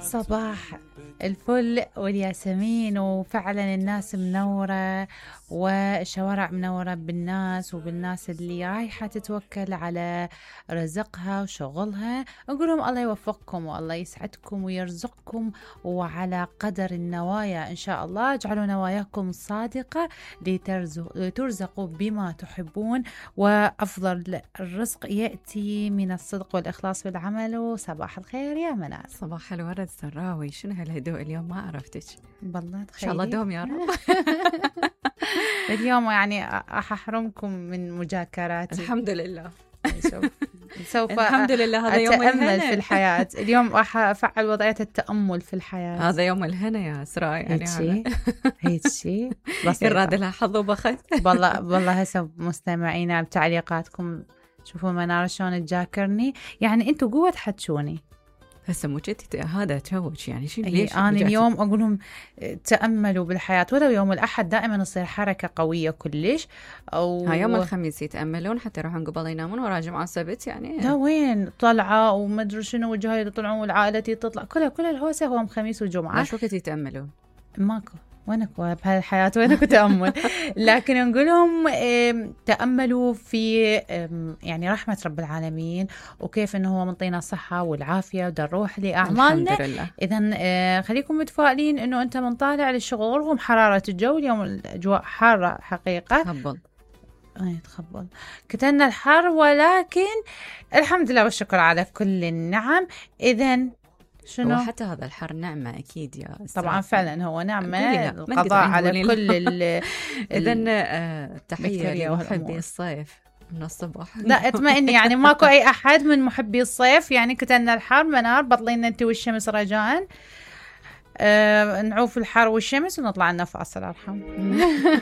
صباح الفل والياسمين، وفعلا الناس منورة والشوارع منورة بالناس وبالناس اللي رايحة تتوكل على رزقها وشغلها. نقول لهم الله يوفقكم والله يسعدكم ويرزقكم، وعلى قدر النوايا إن شاء الله اجعلوا نواياكم صادقة لترزقوا بما تحبون، وأفضل الرزق يأتي من الصدق والإخلاص في العمل. وصباح الخير يا منال. صباح الورد سراوي، شنو هالهدوء اليوم؟ ما عرفتك. بالله إن شاء الله دوم يا رب. اليوم يعني أحرمكم من مجاكراتي. الحمد لله. سوف الحمد لله، هذا يوم أتأمل في الحياة. اليوم راح أفعل وضعية التأمل في الحياة. هذا يوم الهنا يا إسراء، يعني هيك شيء يراد لها حظ وبخت. والله هسه مستمعينا بتعليقاتكم شوفوا منار شلون تجاكرني، يعني أنتوا قوة تحتشوني هسه مو جدي هذا توج، يعني شو ليش أنا اليوم أقول لهم تأملوا بالحياة، ولو يوم الأحد دائما يصير حركة قوية كلش، أو يوم الخميس يتأملون حتى يروحون قبل ينامون، ورا جمعة سبت يعني لا وين طلعة وما أدري شنو وجهاي يطلعون والعائلة تطلع كلها الهوسة هو خميس وجمعة. شو وقت يتأملون؟ ماكو وينك بهالحياة وينك تأمل. لكن نقولهم تأملوا في يعني رحمة رب العالمين، وكيف إنه هو منطينا الصحة والعافية ودا نروح لأعمالنا. إذن خليكم متفائلين إنه أنت من طالع للشغل رغم حرارة الجو. اليوم الأجواء حارة حقيقة. تخبل كتلنا الحر، ولكن الحمد لله والشكر على كل النعم. إذن شنو؟ وحتى هذا الحر نعمة أكيد يا أستاذ. طبعا فعلا هو نعمة، القضاء على كل إذن تحية لمحبي الصيف من الصبح. لا اطمئني، يعني ماكو أي أحد من محبي الصيف، يعني كتلنا الحر منار بطلين أنت والشمس رجاء. نعوف الحر والشمس ونطلع لنا فاصل. أرحم.